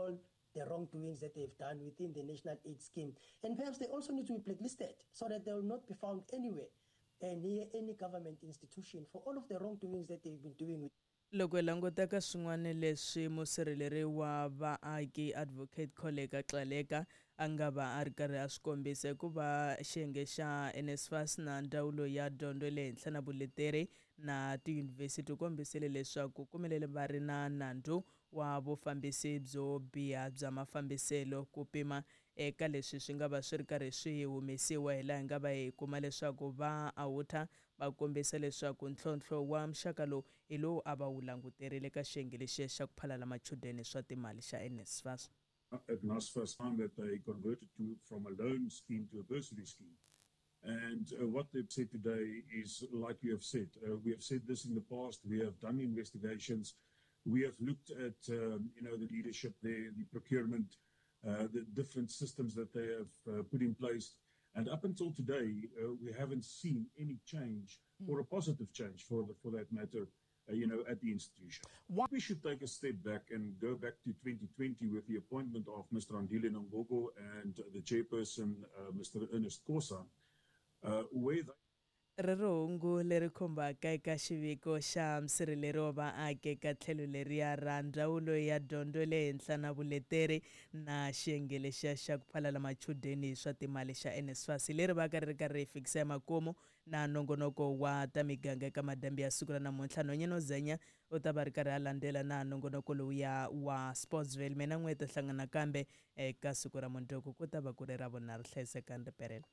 all the wrongdoings that they've done within the National Aid Scheme. And perhaps they also need to be blacklisted so that they will not be found anywhere near any government institution for all of the wrongdoings that they've been doing. Loko hi languta ka swin'wana leswi musirheleri wa vaaki Advocate Kholeka Gcaleka a nga va a ri karhi a swi kombisa i ku va xiyenge xa NSFAS na Ndzawulo ya Dyondzo ya le Henhla na Vuleteri na tiyunivhesiti u kombisile leswaku kumelele va ri na nandzu wa vufambisi byo biha bya mafambiselo ku pima eka leswi swi nga va swi ri karhi swi humesiwa hi laha hi nga va hi kuma leswaku va awutha va kombisa leswaku ntlhontlho wa muxaka lowu hi lowu a va wu languterile ka xiyenge lexiya xa ku phalala machudeni swa timali xa NSFAS. At NSFAS time that they converted to from a loan scheme to a bursary scheme. And what they've said today is, like you have said, we have said this in the past, we have done investigations, we have looked at, the leadership there, the procurement, the different systems that they have put in place. And up until today, we haven't seen any change or a positive change for that matter, at the institution. Why? We should take a step back and go back to 2020 with the appointment of Mr. Andile Nongogo and the chairperson, Mr. Ernest Kosa, where they Ri ri hungu leri khumbaka eka xiviko xa musirheleri wa vaaki eka tlhelo leriya ra Ndzawulo ya Dyondzo ya le Henhla na Vuleteri na xiyenge lexiya xa ku phalala machudeni hi swa timali xa NSFAS leri vaka ri ri karhi ri hi fikisa emakumu na nongonoko wa ta miganga eka madyambu ya siku ra namuntlha. Nhwanyana Zenya u ta va ri karhi a landzela na nongonoko lowuya wa Sportsville. Mina n'we hi ta hlangana kambe eka siku ra mundzuku ku ta va ku ri Ravunharhu. Hlayisekani riperelo.